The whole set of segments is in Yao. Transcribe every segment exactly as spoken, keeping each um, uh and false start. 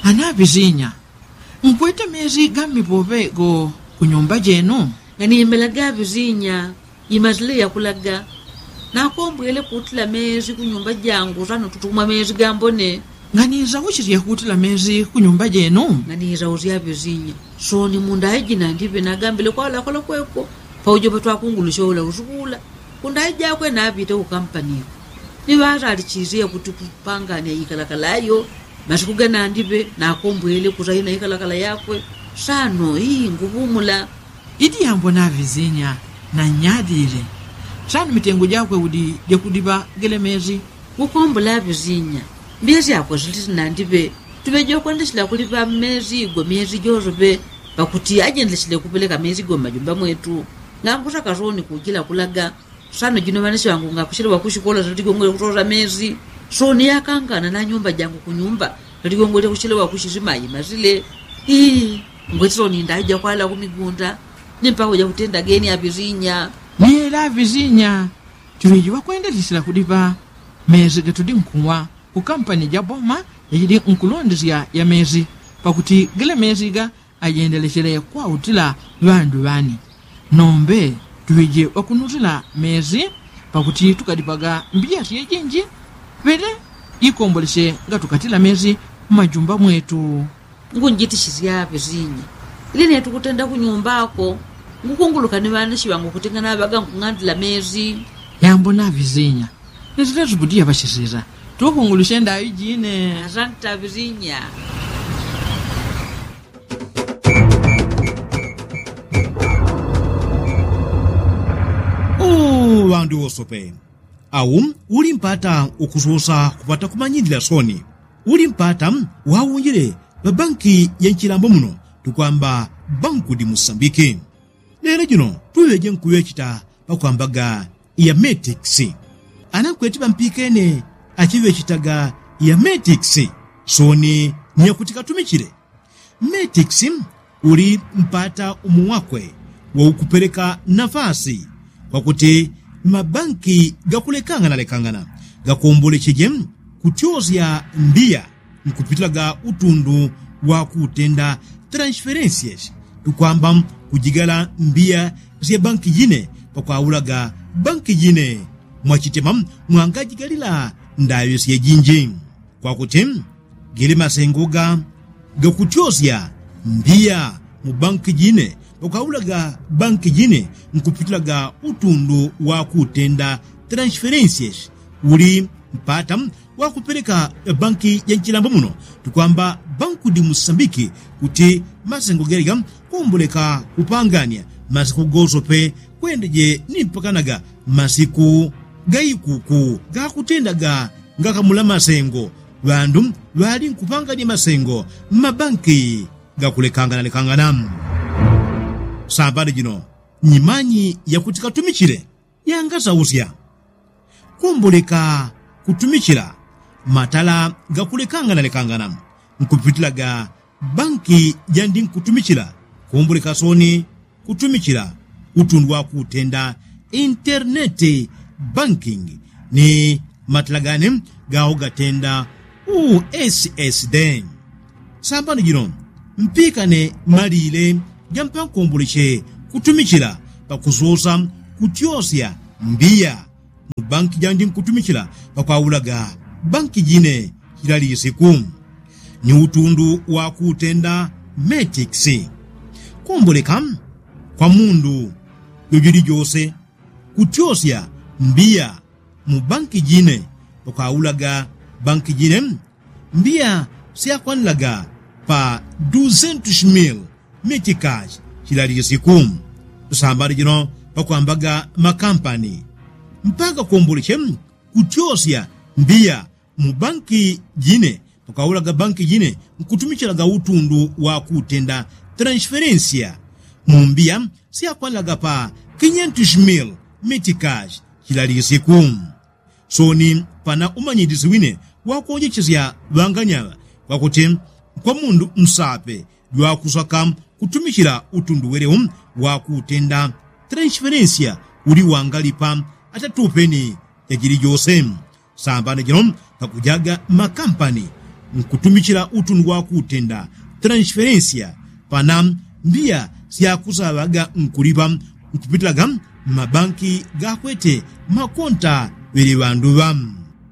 Ana apizinya, nkwete mezi ga mmipope go kunyumba jenu? Nganimelaga apizinya, imasile yakulaga. Nakombwele kutila mezi kunyumba jangu sano tutumwa mezi gambone. Nganisausisye kutila mezi kunyumba jenu? Nganisausya apizinya, soni mundaiji nandipe nagambile kwalakola kweko. Paujo patwakungulusya ula usukula kundaiji akwe napite kukampaniko. Ni ŵasalichisye kuti kupanganya ikalakala yo masiku ganandipe nakombwele kusaina ikalakala yakwe. Sano ii ngupumula. Iti yambona apizinya, nanyadile. Sano mitengo jakwe udi jakudipa gele mezi? Kukombola apizinya, mbiya syakwe siliti nandipe. Tuŵe jokwendesila kulipa mmezi igwa myezi jose pe. Pakuti ajendesile kupeleka mezi igwa mmajumba mwetu. Ngankusaka soni kujila kulaga. Sano jino ŵanesi ŵangu ngakusilewa kusikola saligongwele kusosa mezi. Soni yakangana na nyumba jangu kunyumba saligongwele kusilewa kusisima imasile. Ii, ngweti soni ndaija kwala kumigunda. Ni mpako jakutenda geni apizinya. Ni ela apizinya, tuŵe jiŵakwendesila kulipa mezi gatudi nkuwa kukampani jaboma yajidi nkulondesya ya mezi. Pakuti gele mezi ga ajendelechele kwautila ŵandu ŵani. Nombe tuŵeje ŵakunutila mezi pakuti tukadipaga mbiya syejinji. Ŵele ikomboleche ngatukatila mezi mmajumba mwetu. Ngunjitishisya apizinya, ili netukutenda kunyumbako. Ngukunguluka ni ŵaneshi ŵangu kuti nganaŵaga nkung'andila mezi. Yambona apizinya, nisilesukudiya ŵashisisa. Tukungulushe ndaŵi jine. Asante apizinya. Ŵandu wosope, au uli mpata ukusosa kupata kumanyilila soni. Uli mpata waunjile ŵabanki ya nchilambo muno tukwamba banku di musambiki. Lelo jino tuŵeje nkuŵechita pakwambaga ya metikisi. Ana nkweti ŵampikene achiŵechitaga ya metikisi, soni ni yakuti katumichile. Metikisi uli mpata umo wakwe waukupeleka nafasi kwakuti mabanki gakulekanganalekangana gakombolecheje kutyosya mbiya nkupitilaga utundu wakutenda transferensiesi. Tukwamba kujigala mbiya sya banki jine pakwaulaga banki jine. Mwachitema mwangajigalila ndaŵi syejinji kwakuti gili masengo ga gakutyosya mbiya mu banki jine pakwaulaga banki jine nkupitilaga utundu wakutenda transferensiesi. Uli mpata wakupeleka banki ja nchilambo muno tukwamba banku di musambiki kuti masengo gelega komboleka kupangania masiku gosope kwendeje ni mpakanaga masiku gaikuku gakutendaga ngakamula masengo. Ŵandu ŵali nkupangania masengo mmabanki gakulekanganalekangana. Sambani jino nyimanyi yakuti katumichile yangasausya. Komboleka kutumichila matala gakulekanganalekangana nkupitilaga banki jandi nkutumichila. Komboleka soni kutumichila utundu wakutenda interneti banking ni matala gane gaho gatenda ussd. Sambani jino mpikane malile jampankomboleche kutumichila pakusosa kutyosya mbiya mu banki jandi nkutumichila pakwaulaga banki jine chila lisiku. Ni utundu wakutenda metikisi. Komboleka kwa mundu jojili jose kutyosya mbiya mu banki jine pakwaulaga banki jine mbiya syakwanilaga pa duzentus mil mitikashi chila lisiku. Sambani jino pakwambaga makampani mpaka komboleche kutyosya mbiya mu banki jine pakwaulaga banki jine nkutumichilaga utundu wakutenda transferensiya mu mbiya syakwanilaga pa kinyentus mil mitikashi chila lisiku. Soni pana umanyilisi wine wakonjechesya ŵanganyaŵa kwakuti kwa mundu nsape jwakusaka kutumichila utundu welewo wakutenda transferensiya uli wangalipa atatupeni jajili jose. Sambani jino pakujaga makampani nkutumichila utundu wa kutenda transferensia pana mbiya syakusaŵaga nkuliŵa nkupitilaga mmabanki gakwete makonta ŵele ŵandu ŵa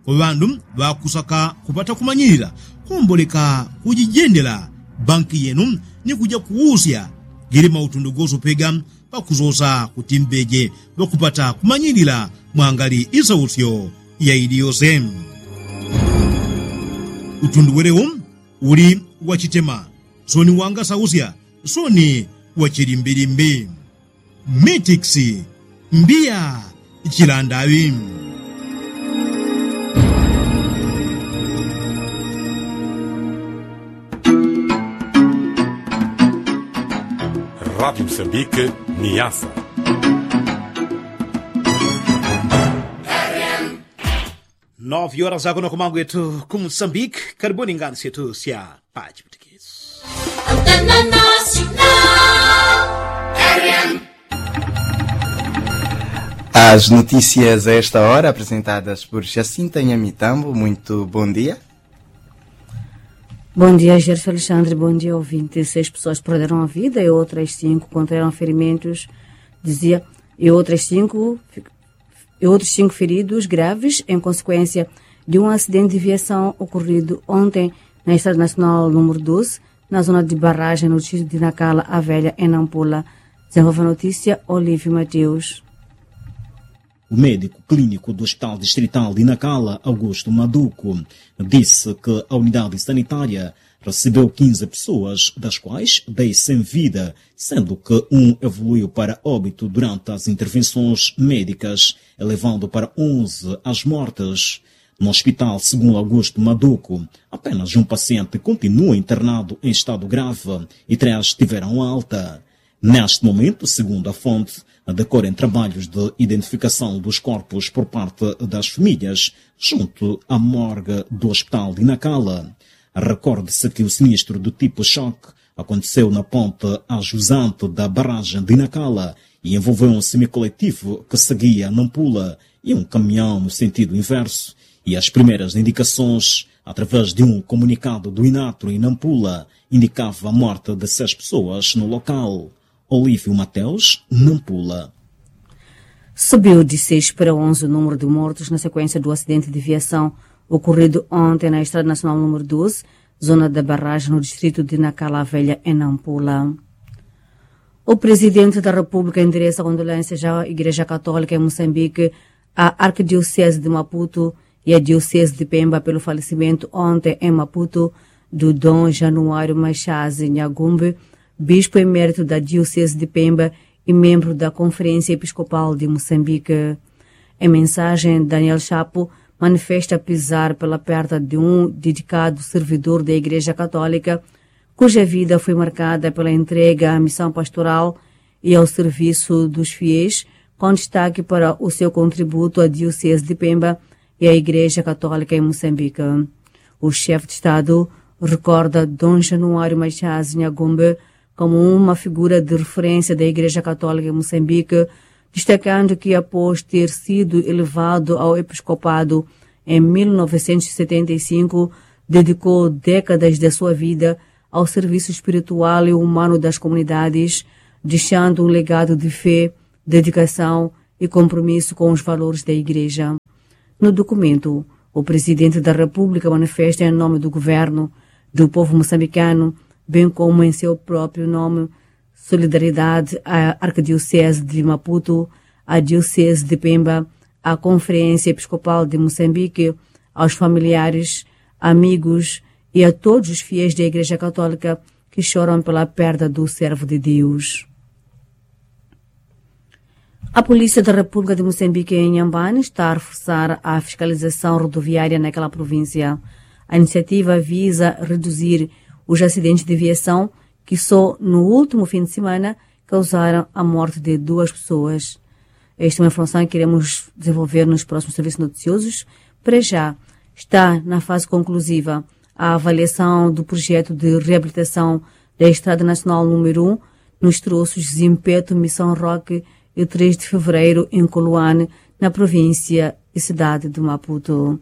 kwa ŵandu ŵakusaka kupata kumanyilila komboleka kujijendela banki yenu ni kuja kuusya gili mautundu gosopega pakusosa kuti mbeje ŵakupata kumanyilila mwangali isausyo ya ili yose. Utundu welewo uli wachitema soni wangasausya soni wachilimbilimbi. Mitiksi mbiya chilandaŵi. Radi msambike ni yasa. Nove horas akuno kumangwetu ku msambike. Karibuni ngansi yetu sya pachi. As notícias a esta hora apresentadas por Jacinta Nhamitambo. Muito bom dia. Bom dia, Gerson Alexandre. Bom dia, ouvinte. Seis pessoas perderam a vida e outras cinco contraíram ferimentos, dizia, e outras cinco fi- e outros cinco feridos graves em consequência de um acidente de viação ocorrido ontem na estrada nacional número doze, na zona de barragem no distrito de Nacala, a velha, em Nampula. Desenvolve a notícia Olívio Mateus. O médico clínico do Hospital Distrital de Nacala, Augusto Maduco, disse que a unidade sanitária recebeu quinze pessoas, das quais dez sem vida, sendo que um evoluiu para óbito durante as intervenções médicas, elevando para onze as mortes. No hospital, segundo Augusto Maduco, apenas um paciente continua internado em estado grave e três tiveram alta. Neste momento, segundo a fonte, decorrem trabalhos de identificação dos corpos por parte das famílias, junto à morgue do Hospital de Nacala. Recorde-se que o sinistro do tipo choque aconteceu na ponte ajusante da barragem de Nacala e envolveu um semicoletivo que seguia Nampula e um caminhão no sentido inverso. E as primeiras indicações, através de um comunicado do Inatro em Nampula, indicava a morte de seis pessoas no local. Olívio Mateus, Nampula. Subiu de seis para onze o número de mortos na sequência do acidente de viação ocorrido ontem na Estrada Nacional número doze, zona da Barragem, no distrito de Nacala Velha, em Nampula. O Presidente da República endereça condolências à Igreja Católica em Moçambique, à Arquidiocese de Maputo e à Diocese de Pemba pelo falecimento ontem em Maputo do Dom Januário Machase Nhagumbe, bispo emérito da Diocese de Pemba e membro da Conferência Episcopal de Moçambique. Em mensagem, Daniel Chapo manifesta pesar pela perda de um dedicado servidor da Igreja Católica, cuja vida foi marcada pela entrega à missão pastoral e ao serviço dos fiéis, com destaque para o seu contributo à Diocese de Pemba e à Igreja Católica em Moçambique. O chefe de Estado recorda Dom Januário Machase Nhagumbe como uma figura de referência da Igreja Católica em Moçambique, destacando que, após ter sido elevado ao episcopado em mil novecentos e setenta e cinco, dedicou décadas da sua vida ao serviço espiritual e humano das comunidades, deixando um legado de fé, dedicação e compromisso com os valores da Igreja. No documento, o Presidente da República manifesta, em nome do Governo, do povo moçambicano, bem como em seu próprio nome, solidariedade à Arquidiocese de Maputo, à Diocese de Pemba, à Conferência Episcopal de Moçambique, aos familiares, amigos e a todos os fiéis da Igreja Católica que choram pela perda do servo de Deus. A Polícia da República de Moçambique, em Inhambane, está a reforçar a fiscalização rodoviária naquela província. A iniciativa visa reduzir os acidentes de viação que só no último fim de semana causaram a morte de duas pessoas. Esta é uma informação que iremos desenvolver nos próximos serviços noticiosos. Para já, está na fase conclusiva a avaliação do projeto de reabilitação da Estrada Nacional número um, nos troços Zimpeto, Missão Roque e três de Fevereiro, em Coluane, na província e cidade de Maputo.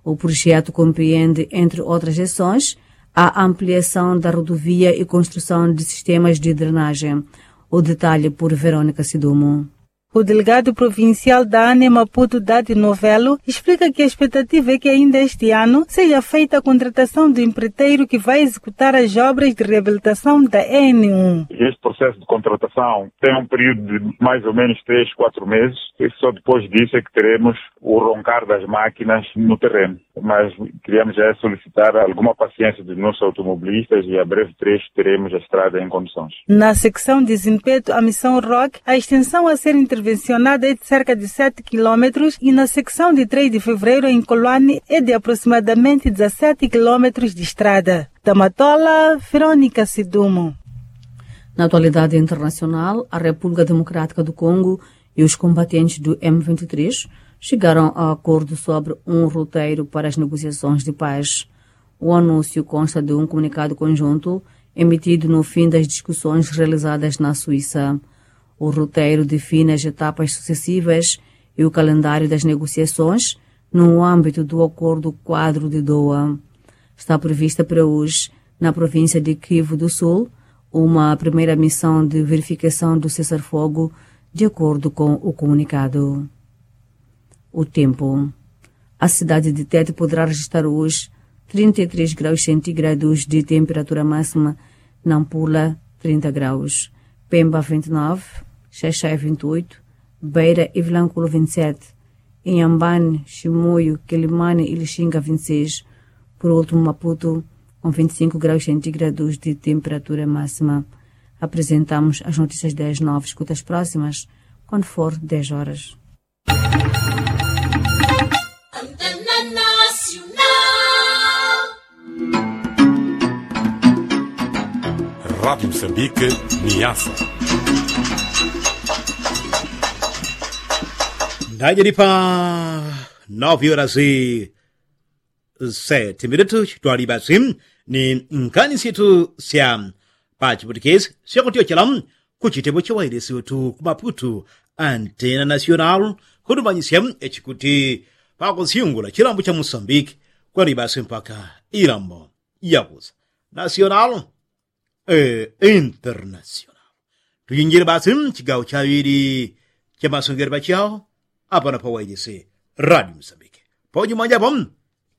O projeto komprende entre outras ações a ampliação da rodovia e construção de sistemas de drenagem. O detalhe por veronica sidumo. O delegado provincial da ane maputo dade novelo explica que a expectativa é que ainda este ano seja feita a contratação do empreiteiro que vai executar as obras de reabilitação da n um. Este processo de contratação tem um período de mais ou menos três quatro meses, e só depois disso é que teremos o roncar das máquinas no terreno. Mas queríamos já solicitar alguma paciência dos nossos automobilistas e a breve trecho teremos a estrada em condições. Na secção de zimpeto a missão rock a extensão a ser intervencionada é de cerca de sete quilômetros e na secção de três de fevereiro em coloane é de aproximadamente dezassete quilômetros de estrada. Tamatola veronica sidumo. Na atualidade internacional a república democrática do congo e os combatentes do m vinte e três chegaram a acordo sobre um roteiro para as negociações de paz. O anúncio consta de um comunicado conjunto emitido no fim das discussões realizadas na suíça. O roteiro define as etapas sucessivas e o calendário das negociações no âmbito do acordo quadro de doa. Está prevista para hoje na província de kivu do sul uma primeira missão de verificação do cessar-fogo, de acordo com o comunicado. O tempo. A cidade de tete poderá registrar hoje trinta e três graus centígrados de temperatura máxima, nampula trinta graus, pemba vinte e nove, xaxai vinte e oito, beira e vilanculo vinte e sete, inhambane, chimoio, quelimane e lixinga vinte e seis. Por último maputo, com vinte e cinco graus centígrados de temperatura máxima. Apresentamos as notícias das nove escutas próximas quando for dez horas. Rádio Moçambique, Niassa. Ndajalipa nove horas e sete minutos twaliba sim ni nkani syetu sya pa chiputikesi syakutyochela ku chitepo cha wailesi wetu ku maputu antena national kutumanyisya echikuti pakusyungula chilambo cha musambiki kwaliba sim mpaka ilambo yakusa national e international. Tuyinjile basi mchigawo chaŵili cha masongelo pachawo apano pa wailesi radio musambiki. Paunyuma japo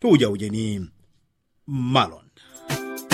tuujaujeni malonda.